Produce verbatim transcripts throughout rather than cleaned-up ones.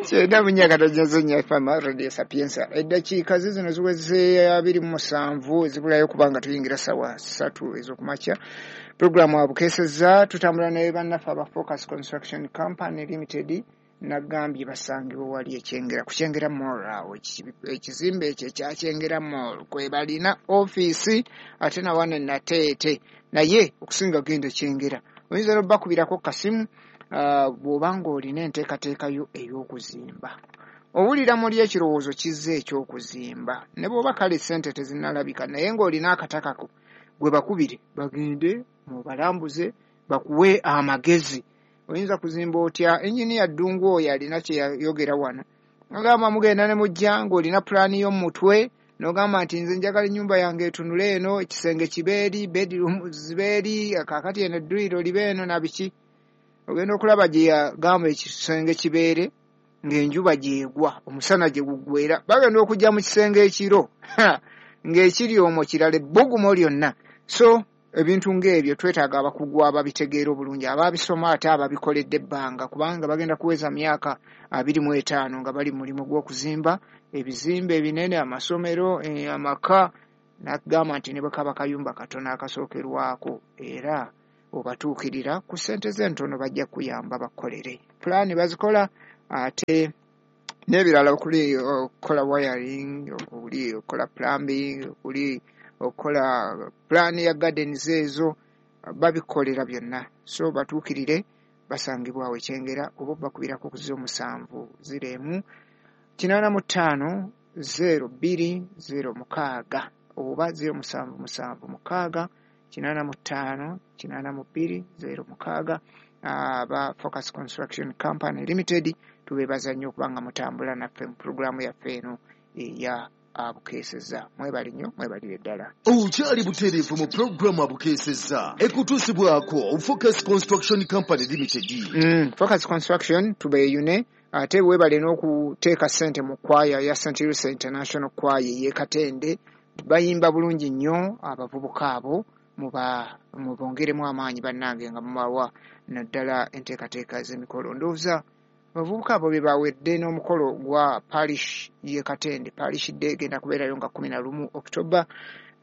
Kyenda mu nnya akatono nnya F M Radio Sapienza. Eddakiika zizino ziweze abiri mu musanvu ezibulayo kubanga tuyingira ssaawa ssatu ez'okumakya. Puroguramu abukeesezza tutambula ne bannaffe aba Focus Construction Company Limited. Nagambye basangibwa wali ekyengera ku Kyengera Mall awo, ekizimbe ekyo ekya Kyengera Mall kwe balina ofiisi ate na wano Nateete, naye okusinga genda Kyengera. Oyinza n'obbakubirako kasimu bw'oba ng'olina enteekateeka yo ey'okuzimba. Owulira muli ekirowoozo kizze eky'okuzimba, ne bw'oba kale ssente tezinnalabika naye ng'olina akatakako, gwe bakubire bagende mubalambuze bakuwe amagezi. Oyinza kuzimba otya? Engineer Ddungu oyo alina kye yayogera wano, agamba mugenda ne mujja ng'olina pulaani y'omutwe n'ogamba nti nze njagala ennyumba yange etunule eno, ekisenge kibe eri, bedroom zibe eri, kaakati eno edduyiro libe eno na biki. Ogenda okulaba gye yagamba ekisenge kibeere ng'enjuba gy'egwa, omusana gye guggwera, bagenda okujja mu kisenge ekiro ng'ekiri omwo kirala ebbugumo lyonna. So ebintu ng'ebyo twetaaga abakugu ababitegeera obulungi, ababisoma ate ababikoledde ebbanga, kubanga bagenda kuweza myaka abiri mu etaano nga bali mu mulimu gw'okuzimba ebizimbe ebinene, amasomero, amaka. N'agamba nti ne bwe kaba kayumba katono akasookerwako era obatuukirira ku ssente z'entono bajja kuyamba bakukolere. Pulaani bazikola ate n'ebirala okuli okukola wiring, okuli okukola plumbing, okuli okukola pulaani ya gardens, ezo babikolera byonna. So batuukirire, basangibwa awo Ekyengera oba bakubirako ku ziro musanvu ziro emu kinaana mu ttaano zero bbiri zero mukaaga oba ziro musanvu musanvu mukaaga kinaana mu ttaano kinaana mu bbiri zero mukaaga. Aba Focus Construction Company Limited tubeebaza nnyo okubanga mutambula naffe mu pulogulaamu yaffe eno eya abukeesezza. Mwebale nnyo, mwebalire ddala. Okyali butereevu mu pulogulaamu abukeesezza ekutuusibwako Focus Construction Company Limited. Mm, Focus Construction tubeeyune, ate weebale n'okuteeka ssente mu kwaya ya Saint Louis International Choir ey'e Katende. Bayimba bulungi nnyo abavubuka abo, muba mubongeremu amaanyi bannange nga mubawa naddala enteekateeka z'emikolo. Ndowooza abavubuka abo be bawedde n'omukolo gwa parish y'e Katende. Parish Day egenda kubeerayo nga kkumi na lumu October,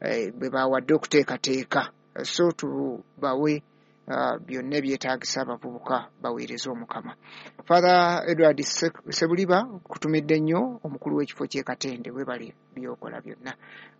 eh, bwe bawadde okuteekateeka. So tubawe uh, byonna ebyetaagisa abavubuka baweereze Omukama. Father Edward Sebuliba, kutumidde nnyo omukulu w'ekifo ky'e Katende, weebale by'okola byonna.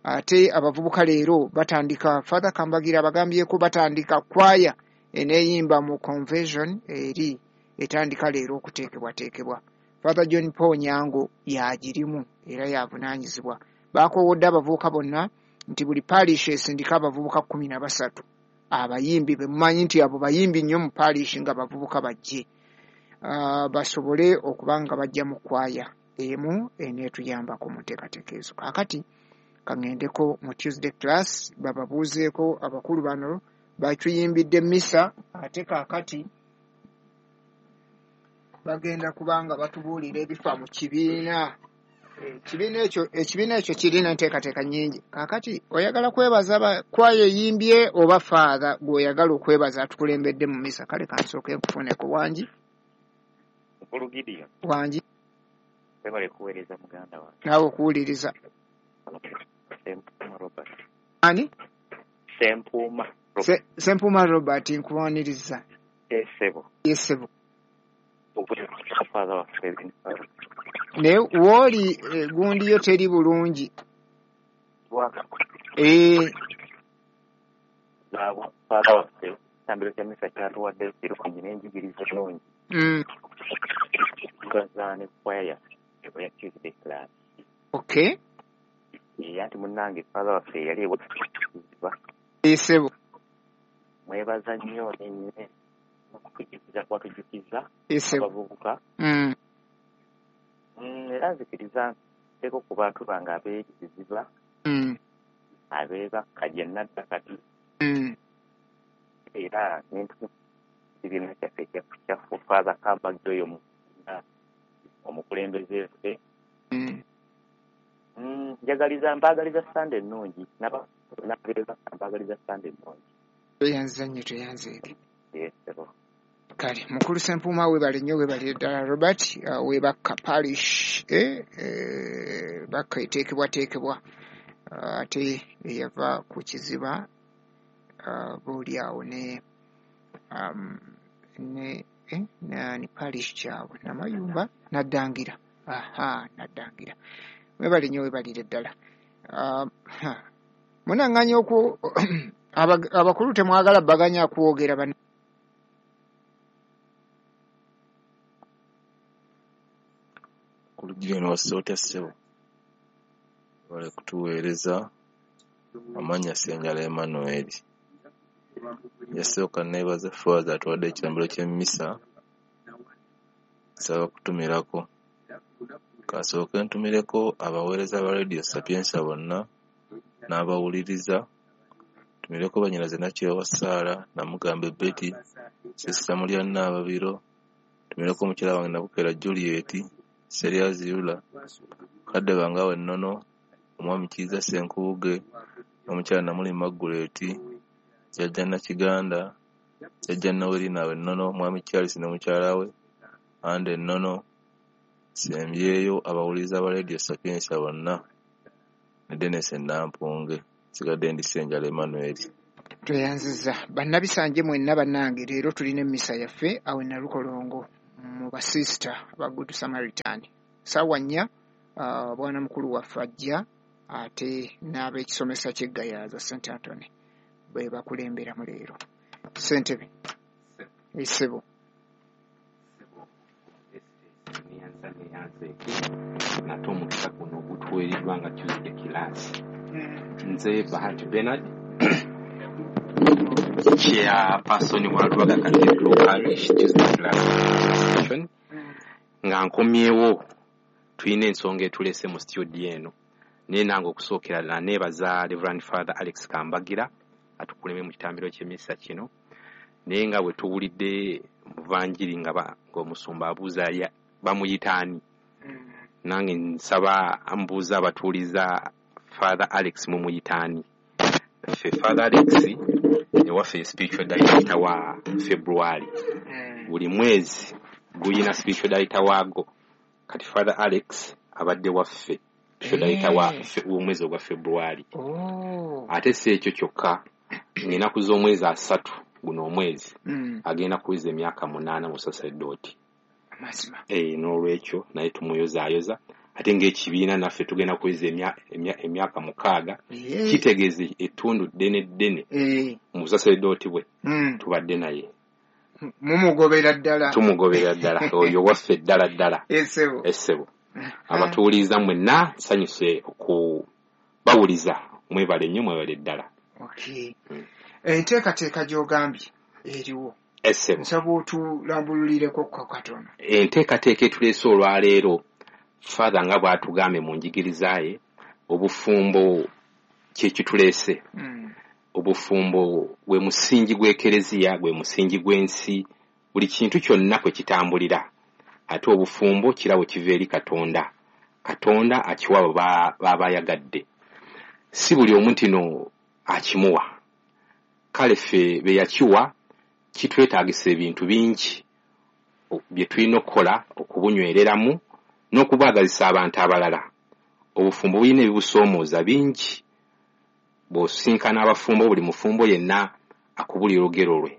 Ate abavubuka leero batandika, Father Kambagira abagambyeko batandika kwaya eneeyimba mu convention eri etandika leero okuteekebwateekebwa. Father John Paul Nyango y'agirimu era y'avunaanyizibwa. Bakoowodde abavubuka bonna nti buli parish esindika abavubuka kkumi na basatu abayimbi be mumanyi nti abo bayimbi nnyo mu parish nga bavubuka bajje, uh, basobole okuba nga bajja mu kwaya emu eneetuyambako mu nteekateeka ezo. Kaakati kaŋŋendeko mu Tuesday class bababuuzeeko abakulu bano batuyimbidde misa, ate kaakati bagenda kubanga batubuulira ebifa mu kibiina. Ekibiina ekyo ekibiina ekyo kirina enteekateeka nnyingi. Kaakati oyagala kwebaza kwaya eyimbye oba Father gw'oyagala okwebaza atukulembedde mu misa? Kale kansooke nkufuneko. Wangi? Mukulu Gideon. Wangi? Webale kuweereza muganda wange. Naawe okuwuliriza. Sempuuma Robert. Ani? Sempuuma Robert. Sempuuma Robert, nkuwaniriza. Yesebo. Yesebo. Father waffe. Naye wooli gundi yo teri bulungi. Eh. Father waffe ekitambiro kya misa kyatuwadde kirungi n'enjigiriza ennungi. Mm. Tukaza ne kwaya yaffe eya Tuesday class. Okay. Ye anti munnange Father waffe yali ewa Yesebo. Mwebaza nnyo ne okutujjukiza kwatujjukiza abavubuka. Mm. Mm, era nzikiriza nteeko ku bantu bange abeekiziba mm. abeebakka gye nnadda kati mm. era n'ekibiina kyaffe kyaffe Father Kambagira oyo omukulembeze ffe. Mm. Mm, njagaliza mbaagaliza Sande ennungi n'abeebakka mbaagaliza Sande ennungi. Tweyanza nnyo, tweyanzeege. Yesebo. Kale mukulu Ssempuuma weebale nnyo, weebale ddala Robert. uh, webakka parish eh, eh, bakka eteekebwateekebwa, uh, ate eyava ku kiziba uh, booli awo ne um, ne eh, nani parish kyabwe Namayumba Naddangira. Aha, Naddangira. Weebale nnyo, weebalire ddala. Uh, munaŋŋanya oku abakulu temwagala baganya kwogera bana. Kulugino wasoota ssebo bale kutuweereza. Amannya Ssenjala Emmanuel. Yasooka neebaza Faaza atuwadde ekirambiro ky'emmisa. Nsaba kutumirako. Kasooke ntumireko abaweereza ba Radio Sapientia bonna n'abawuliriza. Ntumireko bannyinaze Nakyewa Sarah, Namugambe Betty, Sisita Mulya Nnaababiro. Ntumireko mukyala wange Nabukeera Juliet, Seriazi Yula, Kadde bange awo Ennono, Omwami Kiiza Ssenkubuge, n'omukyala Namuli Margaret, Jjajja Nakiganda, Jjajja Noelina awo Ennono, Mwami Charles ne mukyala we, Ande Ennono, sembyeyo abawuliriza ba Radio Sapientia bonna ne Dennis Nampunge. Nsigadde ndi Ssenjala Emmanuel. Tweyanzizza bannabisanje mwenna bannange. Leero tulina emmisa yaffe awo e Nalukolongo mu basisita aba Good Samaritan. Ssaawa nnya uh, bwana mukulu waffe ajja ate n'ab'ekisomesa ky'Eggayaaza Saint Anthony bwe bakulemberamu leero. Ssentebe essebo. Nate omukisa guno ogutuweereddwa nga Tuesday class. Nze Bahati Bernard, chairperson wa Lubaga Cathedral Parish Tuesday class association. Nga nkomyewo tulina ensonga etulese mu studio eno, naye nange okusookera ddala neebaza Reverend Father Alex Kambagira atukuleme mu kitambiro ky'emmisa kino. Naye nga bwe tuwulidde muvanjiri nga ng'omusumba abuuza bamuyita ani, nange nsaba ambuuza abatuuliza Father Alex mumuyita ani. Ffe Father Alex ewaffe spiritual director wa February, buli mwezi guyina spiritual director waago. Kati Father Alex abadde waffe spiritual director wa omwezi ogwa February. Ate si ekyo kyokka, ng'ennaku z'omwezi asatu guno omwezi agenda kuweza emyaka munaana mu sacerdote. Eh, n'olwekyo naye tumuyozaayoza. Ate ng'ekibiina naffe tugenda kuweza emyaka mukaaga, kitegeeza ettundu ddene ddene mu busaserdooti bwe tubadde naye. Mumugobera ddala, tumugobera ddala oyo waffe ddala ddala. Essebo, essebo. Abatuwuliriza mwenna nsanyuse okubawuliza, mwebale nnyo, mwebale ddala. Okay. Enteekateeka gy'ogambye eriwo, essebo, nsaba otulambululireko katono. Enteekateeka etuleese olwaleero, Father nga bw'atugambye mu njigiriza ye, obufumbo kye kituleese. Mm. Obufumbo gwe musingi gw'ekereziya, gwe musingi gw'ensi, buli kintu kyonna kwe kitambulira. Ate obufumbo kirabo kiva eri Katonda. Katonda akiwa abo b'aba ayagadde, si buli omu nti akimuwa. Kale ffe be yakiwa kitwetaagisa ebintu bingi bye tulina okukola okubunywereramu n'okubwagazisa abantu abalala. Obufumbo bulina ebibusoomooza bingi. Bw'osinkana abafumbo, buli mufumbo yenna akubulira olugero lwe.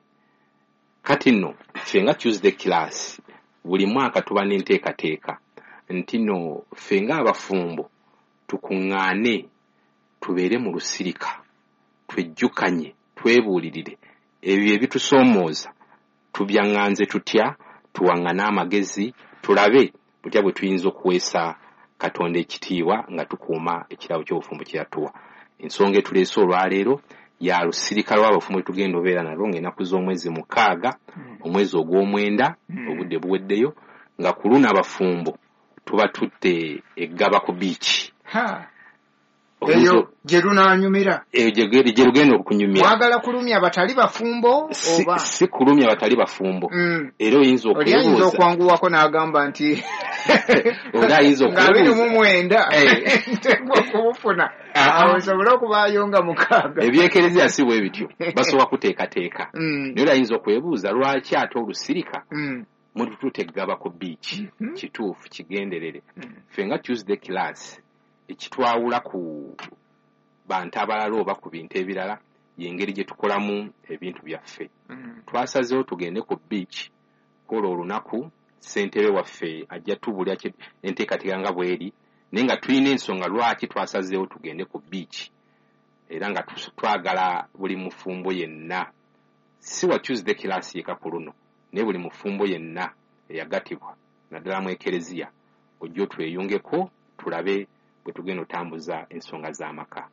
Kati nno ffe nga Tuesday class buli mwaka tuba n'enteekateeka nti nno ffe ng'abafumbo tukuŋŋaane, tubeere mu lusirika, twejjukanye, twebuulirire ebyo ebitusoomooza, tubyaŋŋanze tutya, tuwaŋŋane amagezi, tulabe butya bwe tuyinza okuweesa Katonda ekitiibwa nga tukuuma ekirabo ky'obufumbo kye yatuwa. Ensonga etuleese olwaleero ya lusirika lw'abafumbo tugenda obeera nalwo ng'ennaku z'omwezi mukaaga, omwezi ogw'omwenda, obudde buweddeyo, nga ku luno abafumbo tuba tutte eggaba ku biiki. Eyo gye lunaanyumira, eyo gye lugenda okunyumira. Mwagala kulumya abatali bafumbo oba si kulumya abatali bafumbo? Era oyinza okubuuza, oli ayinza okwanguwako n'agamba nti Oli ayinza Nga abiri mu okwebuuza mwenda Eh. nteekwa okubufuna, Ah, awo ah. nsobole okubaayo nga mukaaga. Ebyekereziya si bwe bityo, basobola kuteekateeka. Mm. Naye oli ayinza okwebuuza lwaki ate olusirika Mm. mutututte Ggaba ku beach. Mhm. Kituufu, kigenderere. Mm. Ffe nga Tuesday class, ekitwawula ku bantu abalala oba ku bintu ebirala y'engeri gye tukolamu ebintu byaffe. Mm. Twasazeewo tugende ku beach kola olunaku. Ssentebe waffe ajja tubulya kye- enteekateeka nga bw'eri, naye nga tulina ensonga lwaki twasazeewo tugende ku beach, era nga tus- twagala buli mufumbo yenna, si wa Tuesday class yeka ku luno, naye buli mufumbo yenna eyagatibwa naddala mu ekereziya, ojja otweyungeko tulabe bwe tugenda otambuza ensonga z'amaka.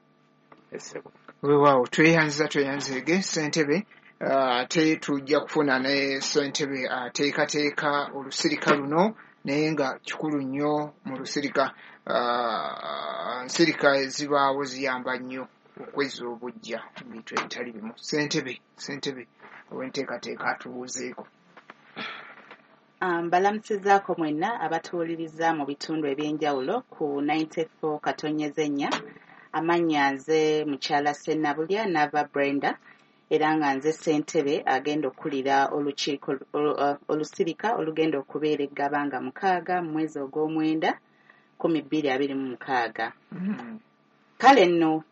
Essebo. Weewaawo, tweyanziza, tweyanzeege ssentebe. Ah, ate tujja kufuna ne ssentebe ateekateeka olusirika luno, naye nga kikulu nnyo mu lusirika. Ah, nsirika ezibaawo ziyamba nnyo okwezza obuggya mu bintu ebitali bimu. Ssentebe, ssentebe ow'enteekateeka atubuuzeeko. Um, Mbalamusizaako mwenna abatuwuliriza mu bitundu ebyenjawulo ku ninety-four katonyeza ennya. Amannya nze mukyala Sennabulya Nava Brenda, era nga nze ssentebe agenda okukulira olukiiko olu- uh, olusirika olugenda okubeera eggaba nga mukaaga mu mwezi ogw'omwenda kumi bbiri abiri mu mukaaga. Mm. Kale nno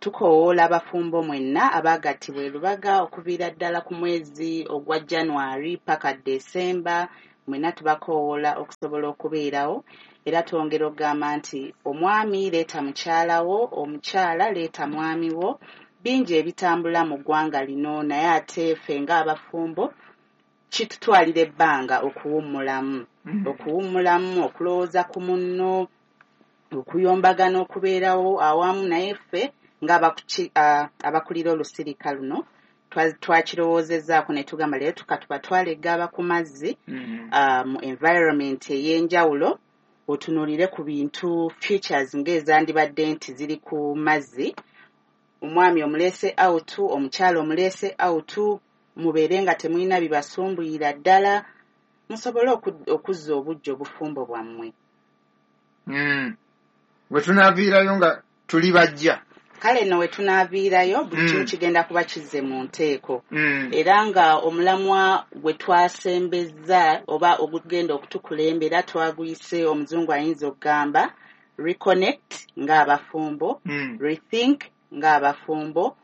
tukoowoola abafumbo mwenna abaagattibwa e Lubaga okuviira ddala ku mwezi ogwa January paka December, mwenna tubakoowoola okusobola okubeerawo. Era twongera okugamba nti omwami leeta mukyala wo, omukyala leeta mwami wo. Bingi ebitambula mu ggwanga lino, naye ate ffe ng'abafumbo kitutwalira ebbanga okuwummulamu, Mm. okuwummulamu, okulowooza ku munno, okuyombagana, okubeerawo awamu. Naye ffe ng'abakuki- ah, abakulira olusirika luno twa- twakirowoozezzaako ne tugamba leero tukatubatwale eggaba ku mazzi, Mm. ah, mu environment ey'enjawulo, otunuulire ku bintu futures ng'ezandibadde nti ziri ku mazzi. Omwami omuleese out, omukyala omuleese out, mubeere nga temulina bibasumbuyira ddala, musobole oku- okuzza obuggya obufumbo bwammwe. Mm. Bwe tunaaviirayo nga tuli bajja. Kale nno we tunaaviirayo buli kimu Mm. kigenda kuba kizze mu nteeko. Mm. Era nga omulamwa gwe twasembezza oba ogugenda okutukulembera twaguyise, omuzungu ayinza okugamba reconnect ng'abafumbo, Mm. rethink ng'abafumbo,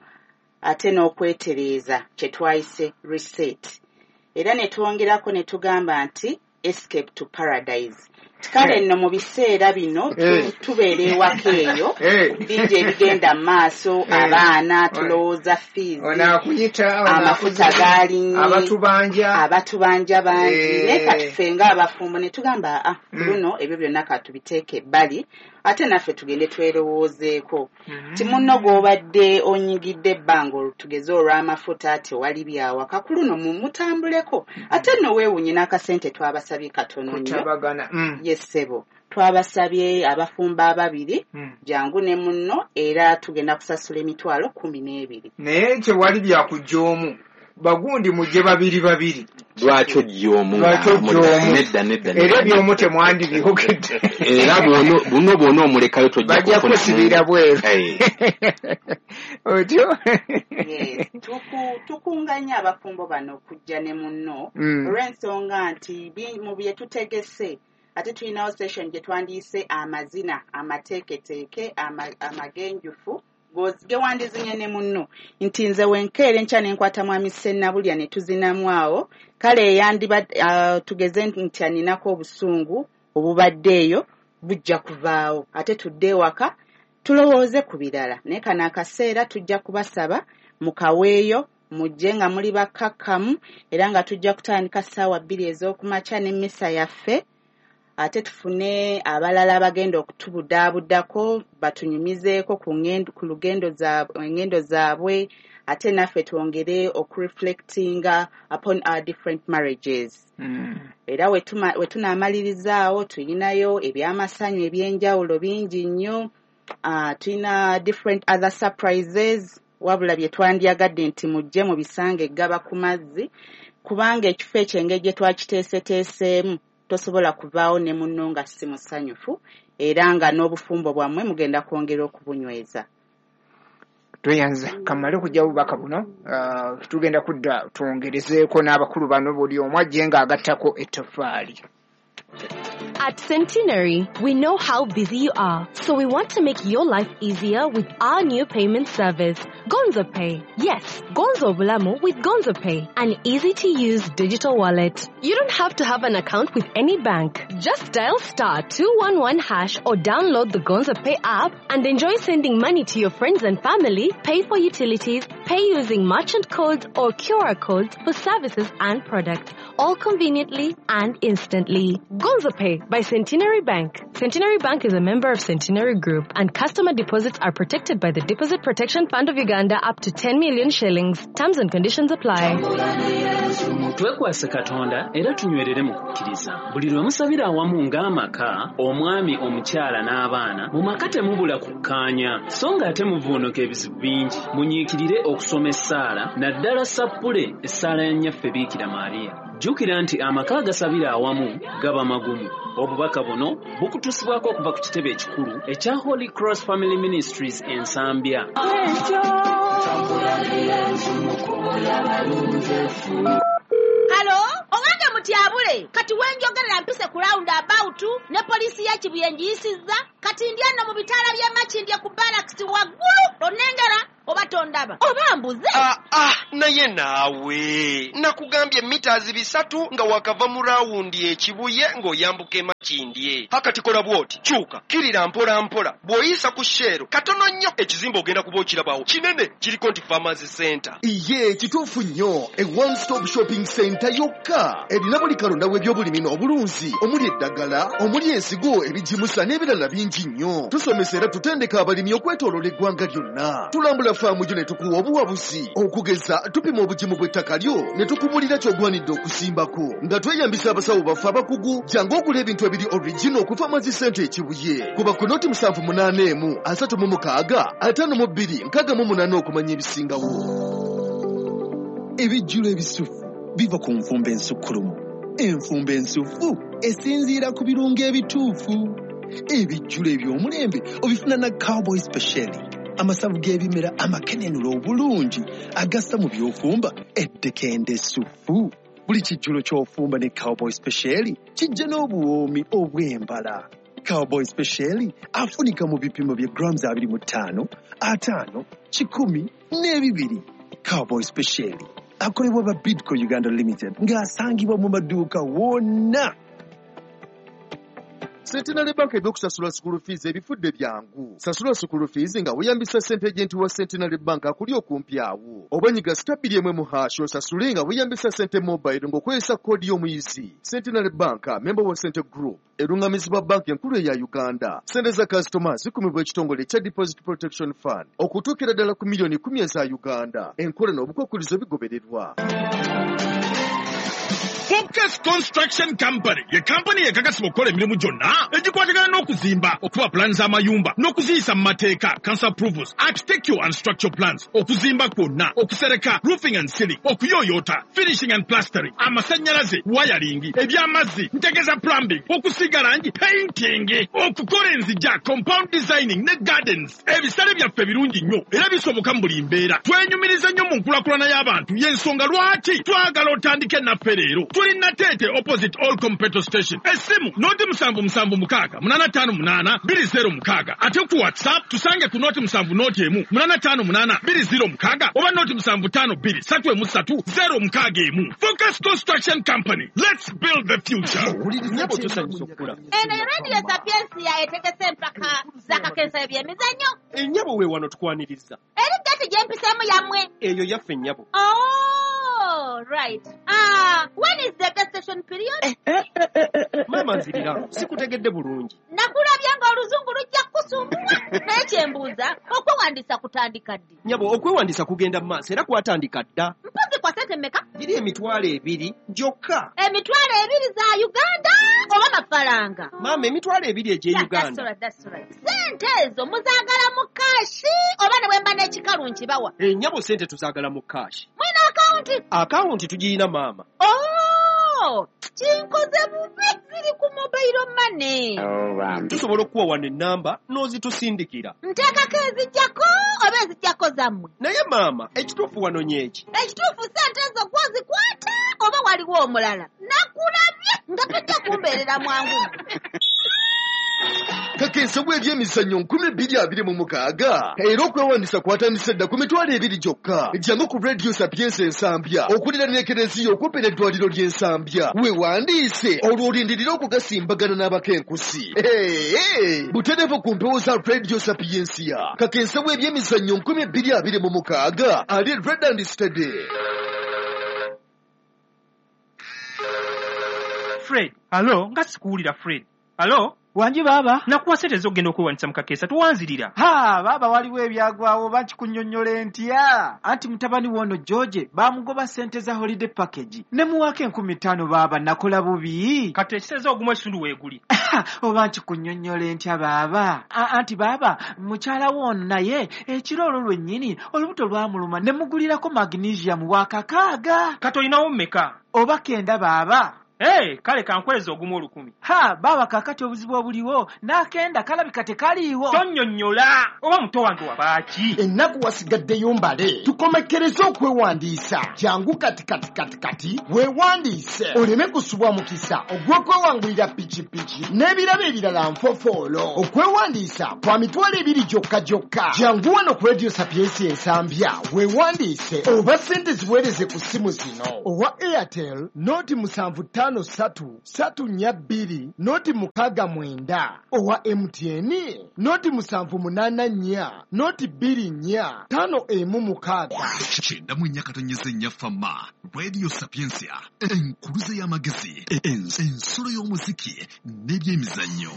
ate n'okwetereeza kye twayise reset. Era ne twongerako ne tugamba nti escape to paradise. Kale nno mu biseera bino tu- Eh. tubeera ewaka eyo, Eh. bingi ebigenda mu maaso, Eh. abaana tulowooza fees, Ono akuyita, ono amafuta akuza, gaalinnye, abatubanja, abatubanja bangi. Eh. Naye kati ffe ng'abafumbo ne tugamba ah, Mm. luno ebyo byonna katubiteeke ebbali, ate naffe tugende twerowoozeeko Mm. ti munno gw'obadde onyigidde ebbanga tugeze olw'amafuta tewali byawaka, ku luno mumutambuleko. Ate nno weewuunye n'akasente twabasabye katono nnyo. Kutabagana. Mm. Ye ssebo, twabasabye abafumbo ababiri, Mm. jangu ne munno, era tugenda kusasula emitwalo kumi n'ebiri. Naye tewali byakujja omu, bagundi mujje babiri babiri. Lwaki ojja omu? Lwaki ojja omu? Nedda, nedda, Era nedda. ebyomu temwandibyogedde. Era bw'ono- buno bw'ona omulekayo tojja Bajja kufunamu. kusibira bweru. Eh. Otyo. Yes, tuku- tukunganya abafumbo bano okujja ne munno, Mm. olw'ensonga nti bi- mu bye tutegese ate tulinawo session gye twandiyise amazina amateeketeeke, ama- amagenjufu gozi- ge wandizinye ne munno, nti nze wenkeera enkya ne nkwata mwami Sennabulya ne tuzinamu awo. Kale eyandiba ah, tugeze nti aninako obusungu obubadde eyo bujja kuvaawo, ate tudde ewaka tulowooze ku birala. Naye kano akaseera tujja kubasaba mukaweeyo, mujje nga muli bakkakkamu, era nga tujja kutandika ssaawa bbiri ez'okumakya n'emmisa yaffe, ate tufune abalala abagenda okutubudaabudako batunyumizeeko ku ngendo, ku lugendo zaabwe, engendo zaabwe, ate naffe twongere okureflectinga upon our different marriages. Mm. Era we tuma- we tunaamalirizaawo tulinayo ebyamasanyu ebyenjawulo bingi nnyo. uh, tulina different other surprises, wabula bye twandyagadde nti mujje mubisange eggaba ku mazzi, kubanga ekifo ekyo engeri gye twakiteeseteeseemu Tosobola kubaawo ne munno nga si musanyufu, era nga n'obufumbo bwammwe mugenda kwongera okubunyweza. Tweyanza kamale okujja obubaka buno, uh, tugenda kudda twongerezeeko n'abakulu bano buli omu ajje ng'agattako ettoffaali. At Centenary, we know how busy you are, so we want to make your life easier with our new payment service, Gonzo Pay. Yes, Gonzo Bulamu with Gonzo Pay, an easy-to-use digital wallet. You don't have to have an account with any bank. Just dial star two one one hash or download the Gonzo Pay app and enjoy sending money to your friends and family, pay for utilities, pay using merchant codes or Q R codes for services and products, all conveniently and instantly. Gonzo Pay by Centenary Bank. Centenary Bank is a member of Centenary Group, and customer deposits are protected by the Deposit Protection Fund of Uganda up to ten million shillings. Terms and conditions apply. Twekwase Katonda era tunywerere mu kukkiriza. Buli lwe musabira awamu ng'amaka, omwami, omukyala n'abaana, mu maka temubula kukkaanya, so ng'ate muvuunuka ebizibu bingi. Munyiikirire okusoma essaala, naddala sappule essaala ya Nnyaffe Biikira Maria. Jjukira nti amaka agasabira awamu gaba magumu. Obubaka buno bukutuusibwako okuva ku kitebe ekikulu ekya Holy Cross Family Ministries e Nsambya. Halo, owange mutyabule, kati wenjogerera mpise ku round about ne poliisi ya Kibuye ngiyisizza, kati ndi ano mu bitaala by'e Makindye ku barracks waggulu, onnengera oba tondaba oba mbuze. Ah, ah, naye naawe nakugambye mitazi bisatu nga wakava mu rawundi ekibuye ng'oyambuka e Makindye. Hakati kola bw'oti, kyuka kirira mpola mpola, bw'oyisa ku Shell katono nnyo ekizimbe ogenda kuba okirabawo kinene kiriko nti Farmers Center. Iye kituufu nnyo, e one stop shopping center yokka erina buli kalonda w'ebyobulimi n'obulunzi, omuli eddagala, omuli ensigo, ebigimusa n'ebirala bingi nnyo. Tusomesa era tutendeka abalimi okwetooloola eggwanga lyonna. Tulambula faamu gyo ne tukuwa obuwabuzi, okugeza tupima obugimu bw'ettaka lyo ne tukubulira ky'ogwanidde okusimbako nga tweyambisa abasawo baffe abakugu. Jangu ogula ebintu ebiri original ku Farmers Center e Kibuye. Kuba ku noti musanvu munaana emu asatu mu mukaaga ataano mu bbiri nkaaga mu munaana okumanya ebisingawo. Ebijjulo ebisufu biva ku nfumba ensukkulumu. Enfumba ensufu esinziira ku birungo ebituufu. Ebijjulo eby'omulembe obifuna na Cowboy Special, amasavu g'ebimera amakenenula obulungi agassa mu by'ofumba eddekende essufu. Buli kijjulo ky'ofumba ne Cowboy Special kijja n'obuwoomi obw'embala. Cowboy Special afunika mu bipimo bya grams abiri mu ttaano, ataano, kikumi n'ebibiri. Cowboy Special akolebwa ba Bidco Uganda Limited ng'asangibwa mu maduuka wonna. Centenary Bank ebyokusasula school fees ebifudde byangu. Sasula school fees nga weeyambisa ssente agent wa Centenary Bank akuli okumpi awo. Oba nyiga star bbiri emu mu hash osasule nga weeyambisa ssente mobile ng'okozesa koodi y'omuyizi. Centenary Bank, member wa Cente Group, erungamizibwa banki enkulu eya Uganda. Ssente za kasitoma zikumibwa ekitongole ekya Deposit Protection Fund okutuukira ddala ku miliyoni kumi eza Uganda. Enkola n'obukwakkulizo bigobererwa. Focus Construction Company ye kampani ekakasibwa okukola emirimu gyonna egikwatagana n'okuzimba, okuba pulaani z'amayumba n'okuziyisa mu mateeka, council approvals, architectural and structural plans, okuzimba kwonna, okusereka, roofing and ceiling, okuyooyoota, finishing and plastering, amasannyalaze, wiring, eby'amazzi, ntegeza plumbing, okusiiga langi, painting, okukola enzigya, compound designing ne gardens. Ebisale byaffe birungi nnyo era bisoboka mu buli mbeera. Twenyumiriza nnyo mu nkulakulana y'abantu, y'ensonga lwaki twagala otandike naffe leero. Tuli Nateete opposite Allcom petrol station. Essimu noti musanvu musanvu mukaaga munaana ttaano munaana bbiri zero mukaaga. Ate ku WhatsApp tusange ku noti musanvu noti emu munaana ttaano munaana bbiri zero mukaaga oba noti musanvu ttaano bbiri ssatu emu ssatu zero mukaaga emu. Focus Construction Company. Let's build the future. Eno ye Radio Sapientia etegese empaka z'akakensa eby'emizannyo. Ennyabo we wano tukwaniriza. Eri gati gye mpiseemu yammwe. Eyo yaffe nnyabo. Oh, right. Ah, when is the gestation period? Eh, eh, eh, eh, eh. Maama nzirira, sikutegedde bulungi. Nakulabye ng'oluzungu lujja kukusumbuwa. Naye kye mbuuza, okwewandiisa kutandika ddi? Nnyabo, okwewandiisa kugenda mu maaso era kwatandika dda. Mpozi kwa ssente mmeka? Giri emitwalo ebiri gyokka. Emitwalo ebiri za Uganda oba mafaranga? Maama, emitwalo ebiri egy'e Uganda. That's right, that's right. Ssente ezo muzaagala mu kaashi oba ne bwe mba n'ekikalu nkibawa? Ennyabo, ssente tuzaagala mu kaashi. Mwina akawunti? Akawunti tugiyina maama. Oh, Kinzijjako, kinkoze bubi, ziri ku mobile money. Tusobola okuwa wano ennamba n'ozitusindikira. Nteekako ezijjako oba ezijjako zammwe? Naye maama, ekituufu wanonye eki? Ekituufu ssente ezo gwozikwata oba waliwo omulala? Nakulabye nga tojja kumbeerera mwangu. Kakensa bw'ebyemizannyo nkumi bbiri abiri mu mukaaga era okwewandiisa kwatandise dda ku mitwalo ebiri gyokka. Jangu ku Radio Sapientia Ensambya okuliraana Ekereziya okumpi n'eddwaliro ly'Ensambya, weewandiise olwo olindirire okugasimbagana n'abakenkusi. Butereevu ku mpewo za Radio Sapientia. Kakensa bw'ebyemizannyo nkumi bbiri abiri mu mukaaga ali Red and Steady. Fred, alo, nga sikuwulira Fred. Alo? Wangi baaba. Nakuwa ssente ez'okugenda okwewandiisa mu kakeesa tuwanzirira. Ha, baaba waliwo ebyagwawo oba nkikunnyonnyola ntya? Anti mutabani w'ono George baamugoba ssente za holiday package. Ne muwaako enkumi ttaano baaba nakola bubi. Kati ekitegeeza ogumu ekitundu weeguli. Oba nkikunnyonnyola ntya baaba? Anti baaba mukyala w'ono naye ekiro olwo lwennyini olubuto lwamuluma ne mugulirako magnesium wa kakaaga. Kati olinawo mmeka? Oba kenda baaba. Hey, kale kankweza ogumu olukumi. Ha, baba kakati obuzibu obuliwo n'akenda kalabika tekaliiwo. Tonnyonnyola oba muto wange wabaaki? Ennaku wasigaddeyo mbale, tukomekkereze okwewandiisa. Jangu kati kati kati kati weewandiise oleme kusubwa mukisa ogw'okwewangulira pikipiki n'ebirabo ebirala nfofoolo. Okwewandiisa kwa mitwalo ebiri gyokka gyokka. Jangu wano ku Radio Sapientia Ensambya weewandiise oba ssente ziweereze ku ssimu zino: owa Airtel noti musanvu ttaano ssatu ssatu nnya bbiri noti mukaaga mwenda, owa M T N noti musanvu munaana nnya noti bbiri nnya ttaano emu mukaaga. Kyenda mu nnya katonyeze nnya Fama Radio Sapientia, enkuluze y'amagezi, ensulo y'omuziki n'ebyemizannyo.